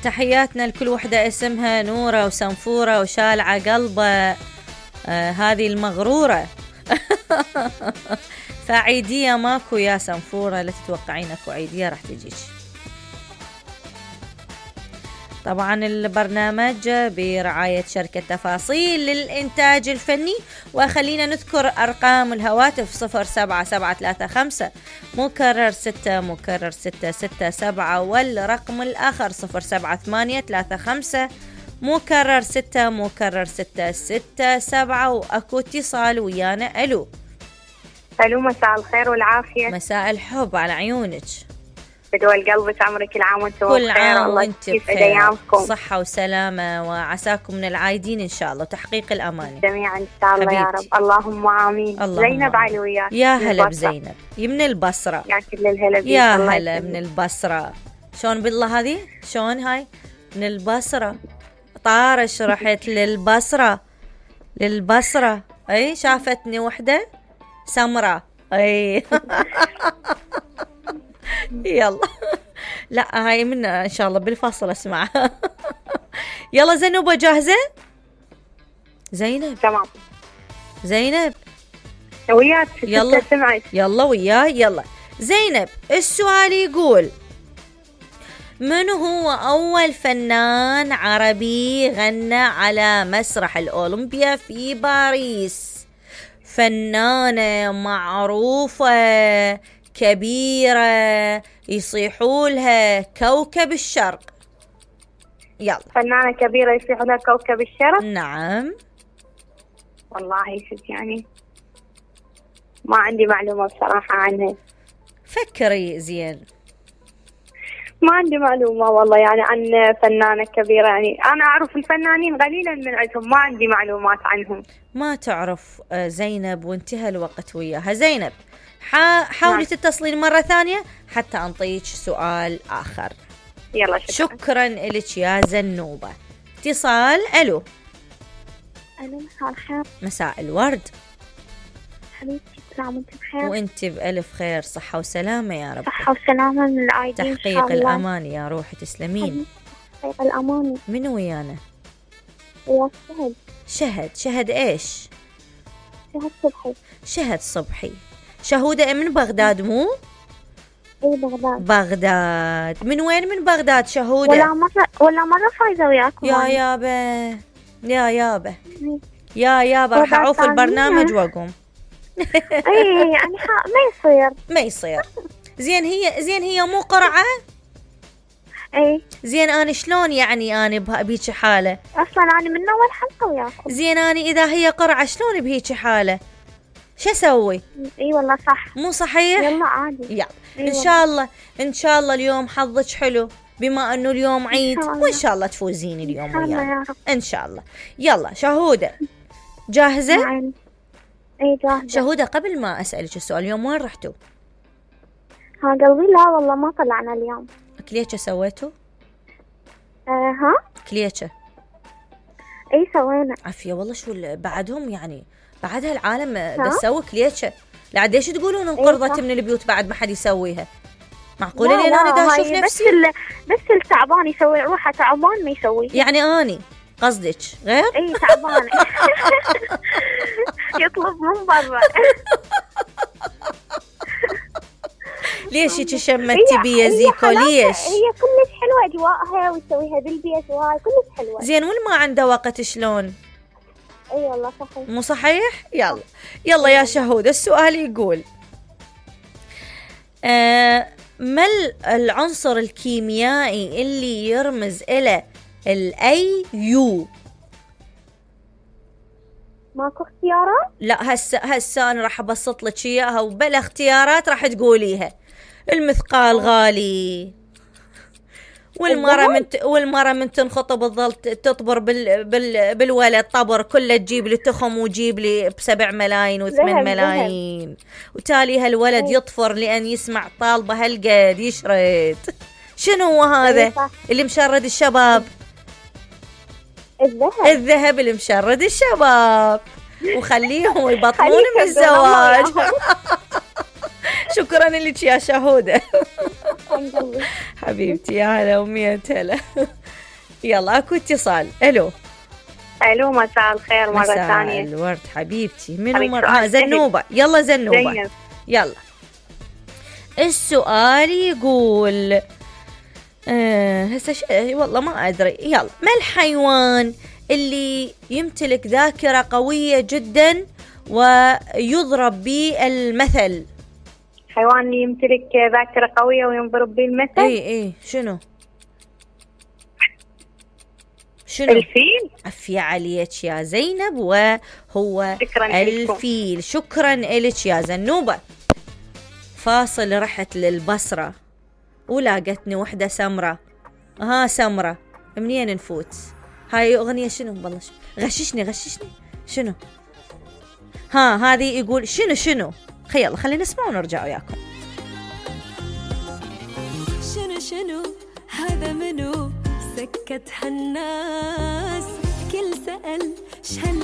تحياتنا لكل وحدة اسمها نورة وسنفورة وشالعة قلبة، هذه المغرورة. فعيدية ماكو يا سنفورة، لا تتوقعين اكو عيدية راح تجيش. طبعا البرنامج برعاية شركة تفاصيل للإنتاج الفني، وخلينا نذكر أرقام الهواتف 07735 مكرر 6 مكرر 667 والرقم الآخر 07835 مكرر 6 مكرر 667. وأكو اتصال ويانا. ألو مساء الخير والعافية. مساء الحب على عيونك، بدول قلبك، عمرك كل عام وانتم كل عام وانت بخير، صحة وسلامة، وعساكم من العايدين إن شاء الله وتحقيق الأماني جميعا إن شاء الله يا رب. اللهم آمين. زينب علي وياك. يا هلا بزينب من البصرة. يا كل الهلا بيك. يا هلا من البصرة. شلون بالله هذه؟ شلون هاي من البصرة؟ طارش رحت للبصرة. أي شافتني وحدة سمرة. أي يلا لا هاي من ان شاء الله بالفصل اسمعها. يلا زينب جاهزة؟ زينب تمام. زينب وياك. يلا يلا وياي. يلا زينب، السؤال يقول: من هو أول فنان عربي غنى على مسرح الأولمبيا في باريس؟ فنانة معروفة كبيرة يصيحولها كوكب الشرق. يلا. فنانة كبيرة يصيحولها كوكب الشرق. نعم. والله يعني ما عندي معلومة بصراحة عنها. فكري زين. ما عندي معلومة والله يعني عن فنانة كبيرة، يعني أنا أعرف الفنانين قليلا من عندهم، ما عندي معلومات عنهم. ما تعرف زينب، وانتهى الوقت وياها. زينب حاولي تتصلين مرة ثانية حتى أنطيك سؤال آخر. يلا شكرا لك يا زنوبة. اتصال. ألو. مساء الخير. مساء الورد حبيبتي، كل عام وانت بخير. وانت بألف خير، صحة وسلامة يا رب. صحة وسلامة من العايدين. تحقيق الأمان يا روحي، تسلمين. تحقيق الأمان. من ويانا؟ وياك شهد ايش؟ شهد صبحي. شهد صبحي. شهودة من بغداد مو؟ اي بغداد. من وين من بغداد شهودة؟ ولا مرة فايزة وياكم. يا يابا راح اعوف البرنامج واقوم. اي يعني ما يصير. زين هي مو قرعة. اي زين انا شلون يعني انا بهيك حالة؟ اصلا انا من اول حلقة وياكم. زين انا اذا هي قرعة شلون بهيك حالة؟ شو اسوي؟ اي والله صح. مو صحيح؟ يلا عادي. يلا ان شاء الله اليوم حظك حلو بما انه اليوم عيد، وان شاء الله تفوزين اليوم ويانا ان شاء الله. يلا شهودة جاهزة؟ اي جاهزة. شهودة قبل ما اسألك السؤال، اليوم وين رحتوا؟ قلبي لا والله ما طلعنا اليوم. كليتشة سويتوا؟ ها كليتشة. اي سوينا. عافية والله. شو بعدهم يعني بعد هالعالم بتسوي كليتشة؟ لعد ايش تقولون انقرضت من البيوت بعد ما حد يسويها؟ معقولة لين انا دا اشوف نفسي؟ بس التعبان يسوي، روحه تعبان ما يسوي. يعني اني قصدك غير؟ اي تعبان. يطلب من برا. ليش هيك شمتي بيا زيكو؟ ليش؟ هي كلش حلوة اجواءها ويسويها بالبيت وهاي كلش حلوة. زين والما عنده وقت شلون؟ اي والله صحيح. مو صحيح؟ يلا يا شهود، السؤال يقول: ما العنصر الكيميائي اللي يرمز إلى الأيو؟ ماكو اختيارات؟ لا هسه أنا راح أبسط لك إياها وبلا اختيارات راح تقوليها. المثقال غالي، والمرة من تنخطب تظل تطبر بالولد طبر كله، تجيب لي تخم وتجيب لي ب7 ملايين و8 ملايين، وتالي هالولد يطفر لأن يسمع طالبة هالقد يشرد. شنو هو هذا اللي مشرد الشباب؟ الذهب اللي مشرد الشباب وخليهم يبطلون من الزواج. شكرا لك يا شهودة. حبيبتي يا هلا ومية هلا. يلا اكو اتصال. الو مساء الخير مرة ثانية. مساء الورد حبيبتي. منو مرة؟ زنوبة. يلا زنوبة زينب. يلا. السؤال يقول هسه والله ما ادري. يلا، ما الحيوان اللي يمتلك ذاكرة قوية جدا ويضرب به المثل؟ حيوان اللي يمتلك ذاكرة قوية وينضرب به المثل؟ اي شنو؟ الفيل. عفية عليك يا زينب، وهو شكرا الفيل لكم. شكرا لك يا زنوبة. فاصل رحت للبصرة ولاقتني وحدة سمرة. سمرة منين نفوت؟ هاي أغنية شنو؟ والله غششني شنو؟ هذه يقول شنو؟ خلينا نسمع ونرجع وياكم. شنو هذا منو سكت هالناس، كل سأل شهل